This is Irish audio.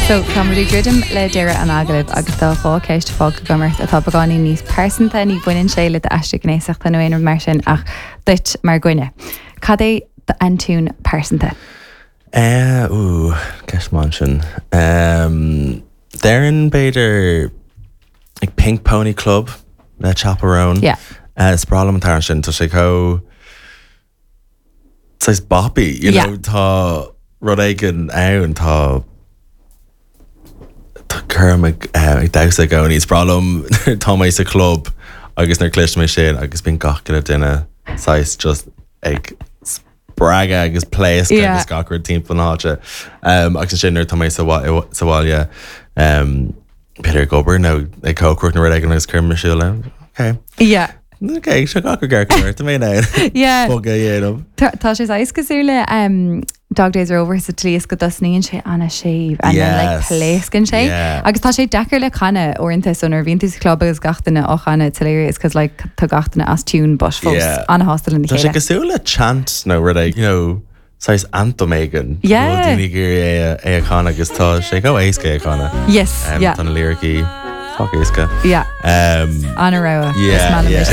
So, tá muid ag druidim le deireadh an agallaimh agus tá 2 ceist fágtha agam ort atá beagáinín níos pearsanta, ní bhaineann sé le d'aistear gnéasachta nó aon rud mar sin ach duit mar dhuine. Cad é d'aintiún pearsanta? Eh, ooh, ceist maith ansin. Em, déarfainn b'fhéidir like Pink Pony Club le Chappell Roan. Yeah. Eh, is breá liom an t-amhrán sin, tá sé chomh saghas boppy, you know, tá rud éigin ann, tá tá cuirim ag ag damhsa i gcónaí. Is breá liom tá mé sa chlub agus nuair cloisim é sin agus bíonn gach uile duine saghas just ag spreagadh agus pléascadh agus gach rud timpeall na háite. Um, agus ansin nuair tá mé sa sa bhaile um, b'fhéidir ag obair nó ag cócaireacht nó rud éigin agus cuirim ar siúl é. Okay. Yeah. Ok, seo gach rud ceart go leor, tá mé in ann Yeah. bogadh a dhéanamh. Tá tá sé saghas cosúil le um, Dog Days Are Over sa tslí is go dtosnaíonn sé an-séimh and then like Yes. pléascann sé. Yeah. Agus tá sé deacair le canadh uaireanta so nuair a bhíonn tú sa chlub agus gach duine á chanadh it's hilarious cause like tá gach duine as tune but fós Yeah. an-shásta lena Tá sé chéile. cosúil le chant nó rud éigin, you know, saghas anthem éigin. Yeah. Go bhfuil daoine ag iarraidh é a- é a chanadh agus tá sé chomh éasca é a chanadh. Yes, Um, yeah. Tá na liricí sách éasca. Yeah. Um, An-rogha. Yeah, Is maith liom é yeah. sin.